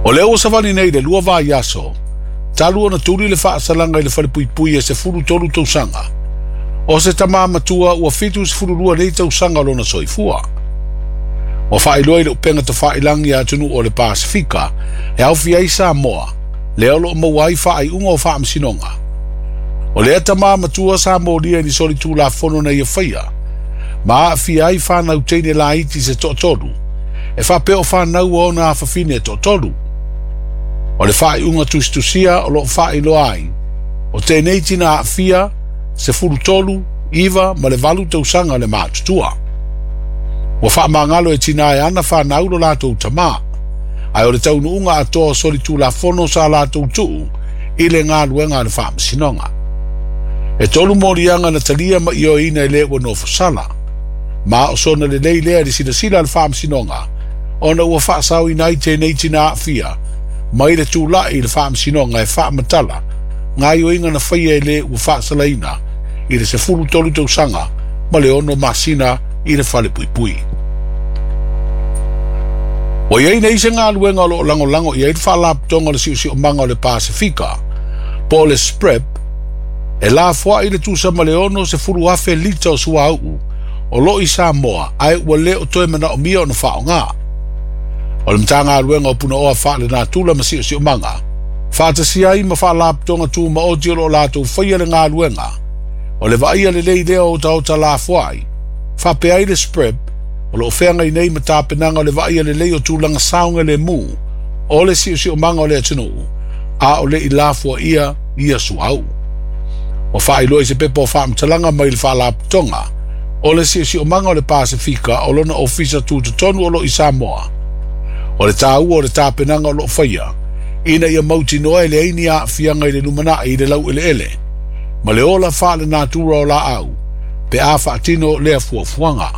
O lea ua savali nei le 2 vaiaso talu ona tuli le faasalaga i le falepuipui e 13 tausaga. O se tamā matua ua 72 nei tausaga o lona soifua. Ua faailoa i le upega tafailagi a atunuu o le Pasefika e aofia ai Samoa, lea o loo maua ai faaiuga o faamasinoga. O lea tamā matua sa molia i ni solitulafono na ia faia, ma aafia ai fanau teine laiti se toatolu, e faapea o fanau a ona afafine e toatolu. O le faaiuga tusitusia o loo faailoa ai, o tenei tina aafia 13, 9 ma le 8 tausaga le matutua. Ua faamagalo e tina e ana fanau lo latou tamā, ae o le taunuuga atoa o solitulafono sa latou tuu i le galuega a le faamasinoga. E 3 moliaga na talia ma ioeina e le ua nofosala, ma o sona lelei lea i le silasila a le faamasinoga, ona ua faasaoina ai tenei tina aafia mai le tula'i i le faamasinoga e faamatala gaioiga na faia e le ua faasalaina i le 13 tausaga ma le 6 masina i le falepuipui. Ua iai nei se galuega o loo lagolago i ai le faalapotoga o le siosiomaga o le Pasefika, po o le SPREP, e lafoai le tusa ma le 60,000 lita o suauu o loo i Samoa ae ua le o toe manaomia ona faaaoga. O le Matagaluega o Punaoa Faalenatura ma Siosiomaga, faatasia ai ma faalapotoga tumaoti o loo latou faia le galuega, o le vaaia lelei lea o otaota lafoai, faapea ai le SPREP, o loo feagai nei ma tapenaga o le vaaia lelei o tulaga saogalemu o le siosiomaga o le atunuu, a o le i lafoaia ia suauu. Ua faailoa i se pepa o faamatalaga mai le faalapotoga o le siosiomaga o le Pasefika o lona ofisa tutotonu o loo i Samoa. O le tāua o le tapenaga o loo faia, ina ia mautinoa e leai ni aafiaga i le lumanai i le laueleele, ma le ola faalenatura o laau, pe a faatino lea fuafuaga.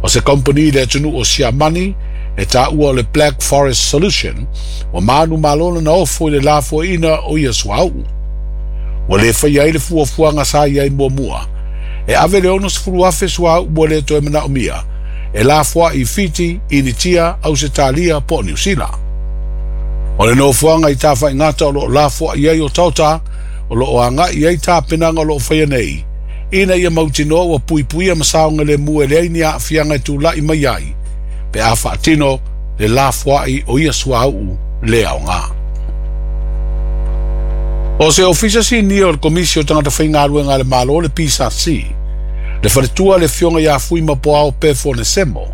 O se kompani le atunuu o Siamani e tāua o le Black Forest Solution, ua manu malona na ofo i le lafoaina o ia suauu. Ua le faia ai le fuafuaga sa i ai muamua, e ave le 60,000 suauu ua le toe manaomia, e lafoai i Fiti, Initia, Ausetalia po o Niu Sila. O le nofoaga i Tafaigata o loo lafoai ai otaota, o loo agai ai tapenaga o loo faia nei, ina ia mautinoa ua puipuia ma saogalemu e leai ni aafiaga e tula'i mai ai, pe a faatino le lafoai o ia suauu le aoga. O se ofisa sinia o le Komisi o Tagata Faigaluega a le Malo le PSC, le faletua le afioga ia Fuimapuaao Pefo Nesemo,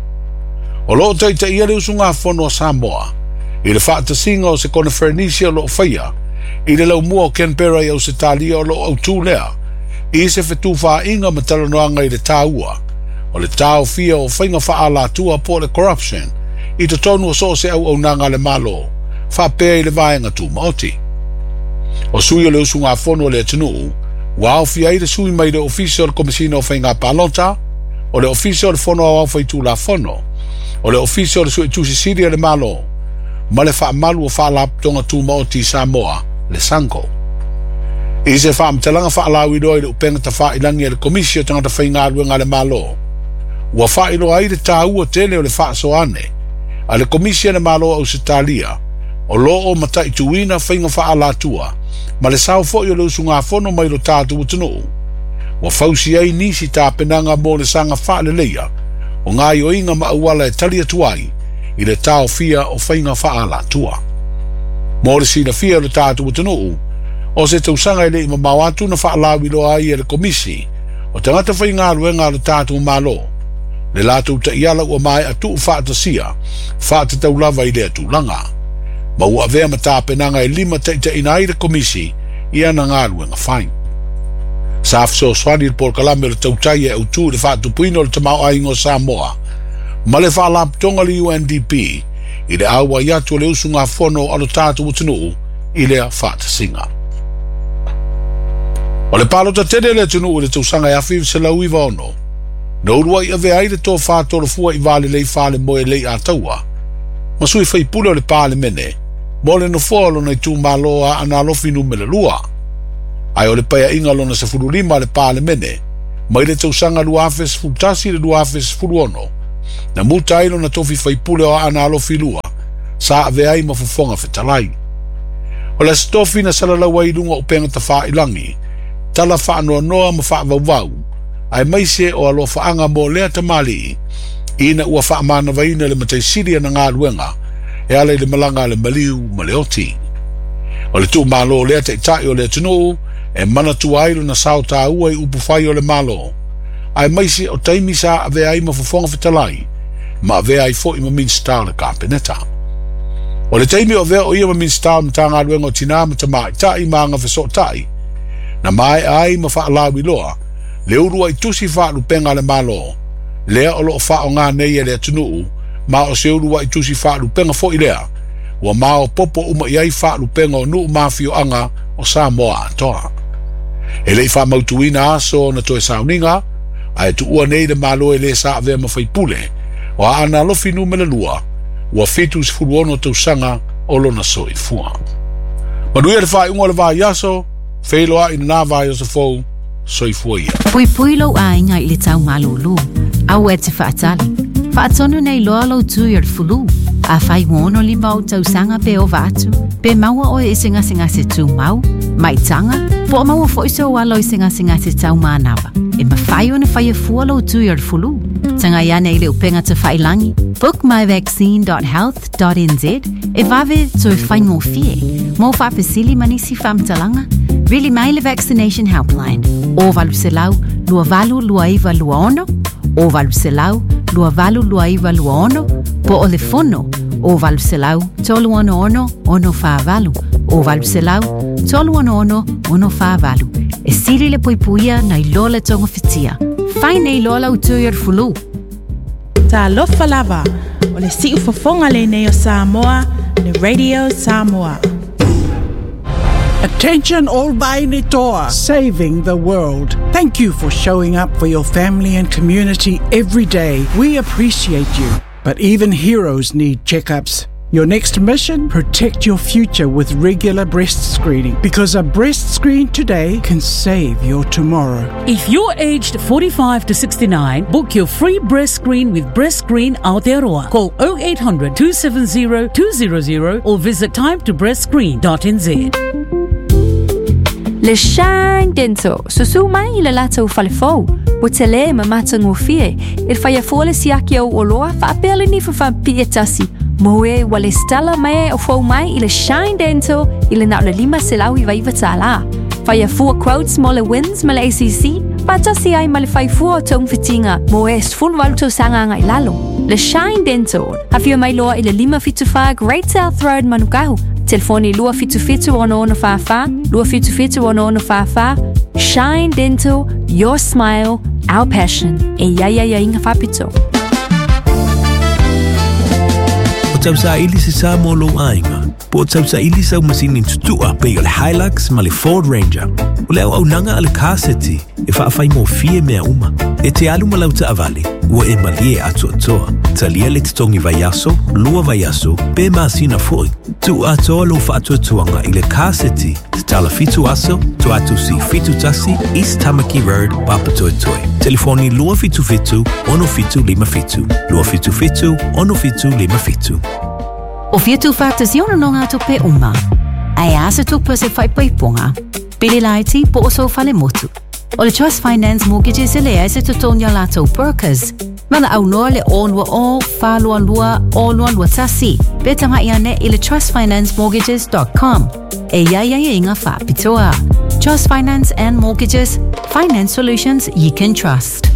o loo taitaia le usugafono a Samoa i le faatasiga o se koneferenisi o loo faia i le laumua o Canberra i Ausetalia o loo autū lea i se fetufaaiga ma talanoaga i le tāua o le taofia o faiga faaalatua po o le corruption i totonu o so o se auaunaga a le Malo, faapea i le vaega tumaoti. O sui o le usugafono o le atunuu, ua aofia ai le sui mai le Ofisa o le Komesina o Faiga Palota, o le Ofisa o le Fono Aoao Faitulafono, o le Ofisa o le Suetusi Sili a le Malo, ma le faamalu o faalapotoga tumaoti i Samoa, le SANGO. I se faamatalaga faalauiloa i le upega tafailagi a le Komisi o Tagata Faigaluega a le Malo, ua faailoa ai le tāua tele o le faasoane a le Komisi a le Malo o Ausetalia o loo mataituina faiga faaalatua ma le sao foi o le usugafono mai lo tatou atunuu. Ua fausi ai nisi tapenaga mo le saga faaleleia o gaioiga ma auala e tali atu ai i le taofia o faiga faaalatua. Mo le silafia o le tatou atunuu, o se tausaga e le i mamao atu na faalauiloa ai e le Komisi o Tagata Faigaluega a lo tatou Malo, le latou taiala ua maea tuu faatasia, faatatau lava i lea tulaga. Ma ua avea ma tapenaga e lima taitaiina ai le Komisi i ana galuega fai. Sa fesoasoani le polokalame o le tautai e autū i le faatupuina o le tamaoaiga o Samoa ma le faalapotoga le UNDP i le auai atu o le usugafono a lo tatou atunuu i lea faatasiga. O le palota tele le atunuu i le tausaga e 1996, na uluai avea ai le tofā tolofua i Valelei Falemoe lei Ataua, ma sui faipule o le Palemene mo le nofoa o lona itumalo a Aana Alofi numera 2. Ae o le paeaiga lona 15 a le Palemene mai le tausaga 2011 i le 2016, na muta ai lona tofi faipule o Aana Alofi 2, sa avea ai ma Fofoga Fetalai. O le Aso Tofi na salalau ai i luga o upega tafailagi, tala faanoanoa ma faavauvau, aemaise o alofaaga mo lea tamalii, ina ua faamanavaina le Matai Sili ana galuega e ala i le malaga a le maliu ma le oti. O le tuumalo o lea taitai o le atunuu e manatua ai lona sao taua i upufai o le Malo, aemaise o taimi sa avea ai ma Fofoga Fetalai ma avea ai foi ma Minisita o le Kapeneta. O le taimi o avea o ia ma Minisita o le Matagaluega o Tinā ma Tamaitai ma Agafesootai, na maea ai ma faalauiloa le uluai tusi faalupega a le Malo, lea o loo faaaoga nei e le atunuu, ma o se uluai tusi faalupega foi lea ua maopoopo uma i ai faalupega o nuu ma afioaga o Samoa atoa. E le i faamautuina aso ona toe sauniga, ae tuua nei le Malo e lē sa avea ma faipule o Aana Alofi Numera 2, ua 76 tausaga o lona soifua. Manuia le faaiuga o le vaiaso, feiloai i lena vaiaso fou, soifua ia. Puipui lou aiga i le tau malūlū. Aua e te faatali. Faatonu nei loa lou tui o le fulu. Afai ua 65 ou tausaga pe ova atu, pe maua oe i se gasegase tumau, maitaga, po o maua foi sou alo i se gasegase tau manava, e mafai ona faia fua lou tui o le fulu. Tagai ane i le upega tafailagi bookmyvaccine.health.nz e vave toe faigofie. Mo faafesili ma nisi faamatalaga, vili mai le Vaccination Helpline o 800 282926 o 800 282926 po o le fono o 800 366 648 o 800 366 648. E sili le puipuia nai lo le togafitia. Fai nei loa lau tui o le fulu. Talofa lava, o le siufofoga lenei o Samoa, le Radio Samoa. Attention all Vainitoa, saving the world. Thank you for showing up for your family and community every day. We appreciate you. But even heroes need checkups. Your next mission? Protect your future with regular breast screening, because a breast screen today can save your tomorrow. If you're aged 45 to 69, book your free breast screen with Breast Screen Aotearoa. Call 0800 270 200 or visit timetobreastscreen.nz. Le Shine Dental, susu mai i le latou fale fou, ua tele ma matagofie, e faia fua le siaki o oloa faapea le nifa faapipii e tasi, mo e ua lesitala mai o fou mai i le Shine Dental i le na o le $599 tālā. Faia fua quotes mo le WINZ ma le ACC, faatasi ai ma le fai fua o togafitiga mo e 18 tausaga agai i lalo. Le Shine Dental, afio mai loa i le 574 Great South Road Manukau, telefoni 277 6644, 277 6644. Shine Dental, your smile, our passion. E i ai aiaiga faapitoa. O tausaili se sa mo lou aiga, po o tausaili sau masini tutua pei o le Hilux ma le Ford Ranger. O le auaunaga a le Car City e faafaigofie mea uma. E te alu ma lau taavale, ua e malie atoatoa. Talia le totogi vaiaso, lua vaiaso, pe masina foi. Tuu atoa lou faatuatuaga i le Car City, tatala 7 aso, Toatusi 71, East Tamaki Road, Papatoetoe. Telefoni 277 6757, 277 6757. O fia tuufaatasi ona nogatupe uma? Ae a se tupe o se faaipoipoga, pili laiti po o sou falemotu? O le Trust Finance Mortgages e leai se totogi a latou brokers. Valaau loa le 020 422 0221 pe tagai ane i le trustfinancemortgages.com. E i ai aiaiga faapitoa. Trust Finance and Mortgages, finance solutions you can trust.